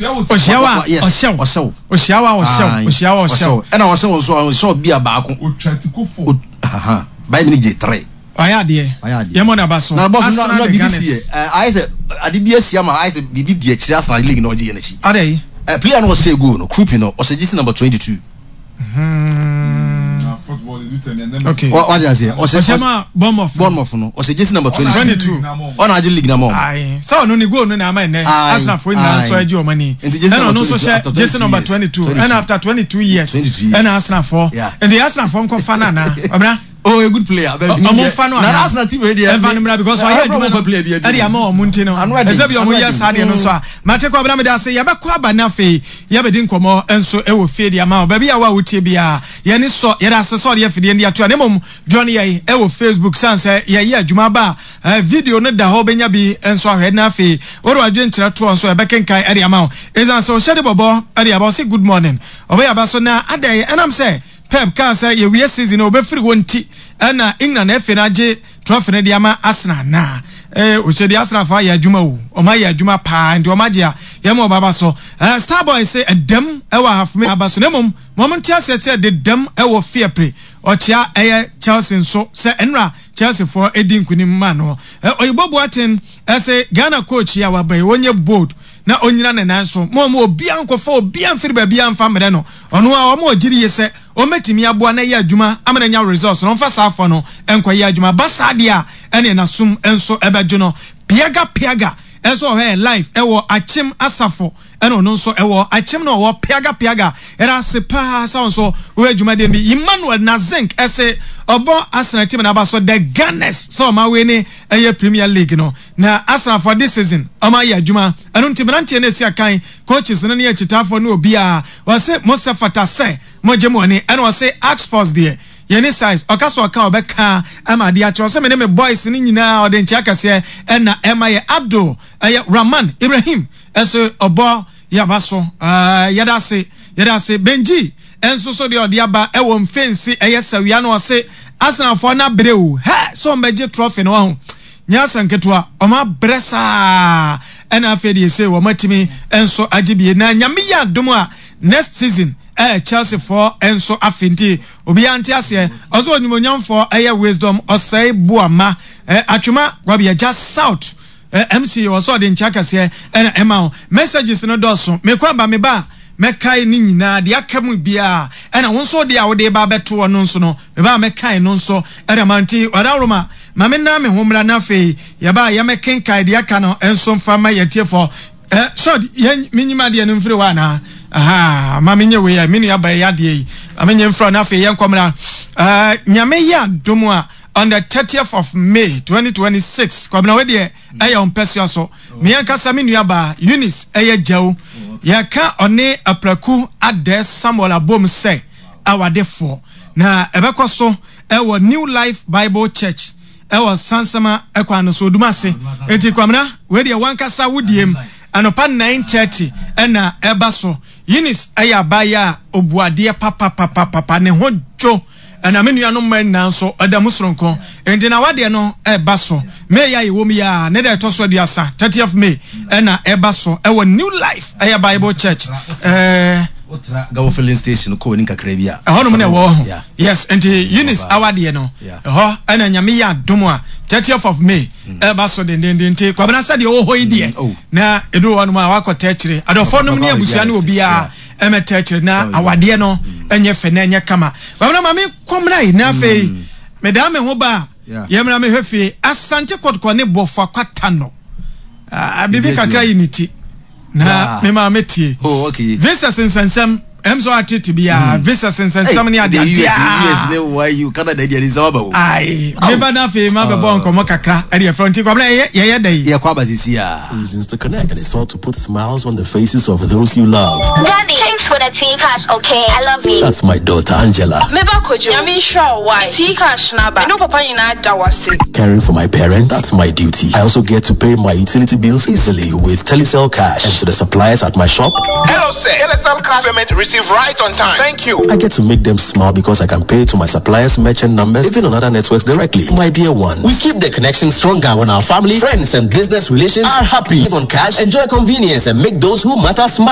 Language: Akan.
Ɔhyia wo a, ɔhyɛ wo. Ɔhyɛ wo. Ɔhyia wo a, ɔhyɛ wo. Ɔhyia wo a, ɔhyɛ wo. Ɛna ɔhyɛ wo nso a, ɔhyɛ wo bia baako. Otwa ti ko fo. Bayern Munich gye three. Wayɛ adeɛ. Wayɛ adeɛ. Yɛmmɔ n'aba so. Na bɔs Arsenal na the biribi si Gunners. yɛ. Ayɛ sɛ ade bi asi ama ayɛ sɛ biribi di akyire Arsenal league na ɔgye yɛ n'akyi. Adɛn? Player no ɔhyɛ goal no, Krupi no, ɔhyɛ jersey number 22. Okay. Wate aseɛ? Ɔhyɛ Ɔhyɛ ma Bournemouth. Bournemouth no, ɔhyɛ jersey number 22. 22. Ɔna agye league na ma wɔn. Aye. Sɛ ɔno ne goal no na ama ɛnɛ Aye. Arsenalfoɔ nyinaa nso Aye. agye wɔn ani. Nti jersey Ɛna number ɔno nso 22 hyɛ after jersey 22 number years. 22. 22. Ɛna after 22 years. 22 years. Ɛna Arsenalfoɔ. Yeah. Nti Arsenalfoɔ nkɔfa no anaa? Ɔbɛna. Oh, a good player. But Ɔmo nfa no Na anaa? Arsenal team wei deɛ. Ɛnfa no mmra because ɔyɛ adwuma no ɛde ama wɔn nti no. Ano ɛden, Ɛsɛ bi ano wɔn yɛ ɛden. saa deɛ no nso a. Mate kɔ abena meda ase yɛbɛkɔ aba na afei yɛbɛdi nkɔmɔ nso ɛwɔ fie de ama wo. Baabi a wo a wotie biara yɛne sɔ yɛda ase sɛ ɔde afidie no de ato a na mmom join yɛn ɛwɔ Facebook san sɛ yɛyɛ adwuma aba a video no da hɔ wobɛnya bi nso ahwɛ na afei wode w'adwenkyerɛ toɔ nso yɛbɛkenkan ɛde ama wo. Ɛsiane sɛ ɔhyɛ de bɔbɔ ɛde aba ɔse good morning ɔbɛyɛ aba so na adɛn ɛnam sɛ Pep kaa sɛ yɛwie season no ɔbɛfiri hɔ nti na England FA no agye trophy no de ama Arsenal anaa? Eh, ɔkyɛ deɛ Arsenal fo ayɛ adwuma o, wɔn ayɛ adwuma paa nti wɔn agye a yɛma wɔn aba so. Eh, Starboy se ɛdam ɛwɔ ahafome aba so na mmom ma wɔn nte aseɛ sɛ ɛdedam ɛwɔ Fiapre. Ɔkyea ɛyɛ Chelsea nso sɛ ɛnora Chelsea foɔ ɛdi nkunim ma no. Eh, Oyibo Boateng ɛse Ghana coach yi a waba yi ɔnyɛ bold na ɔnnyina ne nan so ma ɔmma obiara nkɔfa obiara mfiri baabiara mfa mmrɛ no. Ɔno ara ɔma ɔgye die sɛ ɔmmɛtumi aboa no ayɛ adwuma ama no anya results no, ɔmfa saa afa no nkɔyɛ adwuma. Ɛba saa deɛ a, ɛneɛ n'asom nso bɛdwo no. Piaga Piaga nso wɔ hɔ ɛyɛ live ɛwɔ Akyem Asafo ɛna ɔno nso ɛwɔ Akyem na ɔwɔ Piaga Piaga. Yɛda ase paa sɛ wo nso woyɛ dwumadie no bi. Emmanuel Nazink ɛse ɔbɔ Arsenal team no aba so The Gunners sɛ ɔma wei ne ɛyɛ Premier League no. Na Arsenal for this season ɔmo ayɛ adwuma ɛno nti mmeranteɛ no esi akan coaches no ne akyitaafoɔ ne obiara ɔse mo sɛ fata sɛ mo gye mo ani ɛna ɔse Ark Sports deɛ yɛni size ɔka sɛ ɔka ɔbɛka ama adeɛ akyɛ ɔse me ne me boys no nyinaa ɔde nkyea kɛseɛ ɛna ɛma yɛ Abdul ɛyɛ Rahman Ibrahim ɛse ɔbɔ yaba so yɛda ase yɛda ase Benji nso so deɛ ɔde aba ɛwɔ mfensi ɛyɛ sawia no ɔse Arsenalfoɔ no abrɛ o hɛ sɛ wɔn bɛgye trophy no wahu nyɛ asɛm ketewa wɔn abrɛ saa ɛna afei deɛ sei wɔn atumi nso agye bie na nyame yɛ adom a next season ɛyɛ Chelsea foɔ nso afe nti obiara nte aseɛ ɔsɛ onyimonyamfoɔ ɛyɛ wisdom ɔsɛe boama atwema wabi agya south MC wɔ sɛ ɔde nkyɛ akɛseɛ ɛna ɛma wo. Messages no dɔɔso. Mekɔ aba meba a mɛkae ne nyinaa deɛ aka mu biara ɛna wo nso deɛ a wode ba abɛto hɔ no nso no meba a mɛkae no nso ɛna ma nti ɔdawroma ma me nan me ho mmra na afei yɛba a yɛmɛkenkae deɛ aka no nso mfa ma yɛtiefoɔ. Eh, short yɛn menyim adeɛ no mfiri hɔ anaa? Aha, ma menyɛ wei a me nua ba yi adeɛ yi ma menyɛ mfiri hɔ na afei yɛnkɔ mmra. Eh, Nyame yɛ adom a on the 30th of May 2026 Kwabena wei deɛ ɛyɛ wo mpɛsoa so me ankasa me nua baa Eunice ɛyɛ gyaw yɛka ɔne Apraku Adɛ Samuel abom sɛ awadefoɔ na ɛbɛkɔ so ɛwɔ New Life Bible Church ɛwɔ Sansama ɛkwan no so Odumase enti Kwabena wei deɛ wankasa wo diem anɔpa 9:30 ɛna ɛba so Eunice ɛyɛ abaayewa a ɔbu adeɛ papapapapa ne ho dwo Ɛna me nuanom mmaa nyinaa nso, ɛda mu soronko. Enti na w'adeɛ no reba so. May a yɛwɔ mu yi ara, ne da a ɛtɔ so aduasa, 30th May, ɛna ɛba so ɛwɔ New Life, ɛyɛ Bible Church. Ɛɛ. Wotra Gabo filling station kɔ w'anim kakra bi a. Ɛhɔnom na ɛwɔ hɔ. Yes, nti Eunice awadeɛ no, ɛhɔ ɛna Nyame yɛ adom a, 30th of May, ɛba so dendenden. Nti Kwabena sɛdeɛ ɔwɔ hɔ yi deɛ, oh. na ɛduru hɔnom a wakɔ tɛkyere. Adɔfoɔ nom ne abusua ne obiara. ɛmɛtɛ akyire na awadeɛ no ɛnyɛ fɛ na ɛnyɛ kama bamina maame kɔmina yi na afei medaa me ho ba a yɛmina mehwɛ fie asante kɔtɔkɔ ne bɔfo akwata no biribi kakra yi ne ti na me maame tie oh, visas nsɛnsɛm ɛm sɛ atete biara visas nsɛnsɛm ne ade adeɛ ayi meba na afei ma bɛbɔ nkɔmmɔ kakra ɛde ɛfrɛ nti kwabena yɛyɛ dɛ yi yɛkɔ aba sisi a Reasons to connect, and it's all to put smiles on the faces of those you love. Daddy, thanks for the tea cash, okay? I love you. That's my daughter, Angela. Meba Kojo, Nyame nhyira wo why? Tea cash na ba. Me ne wo papa nyinaa da wo ase. Caring for my parents, that's my duty. I also get to pay my utility bills easily with Telecel Cash. And to the suppliers at my shop. Hello, sir. Telecel Cash payment receipt. receive right on time. Thank you. I get to make them smile because I can pay to my suppliers' merchant numbers, even on other networks directly. My dear ones. We keep the connection stronger when our family, friends, and business relations are happy. Live on cash, enjoy convenience, and make those who matter smile.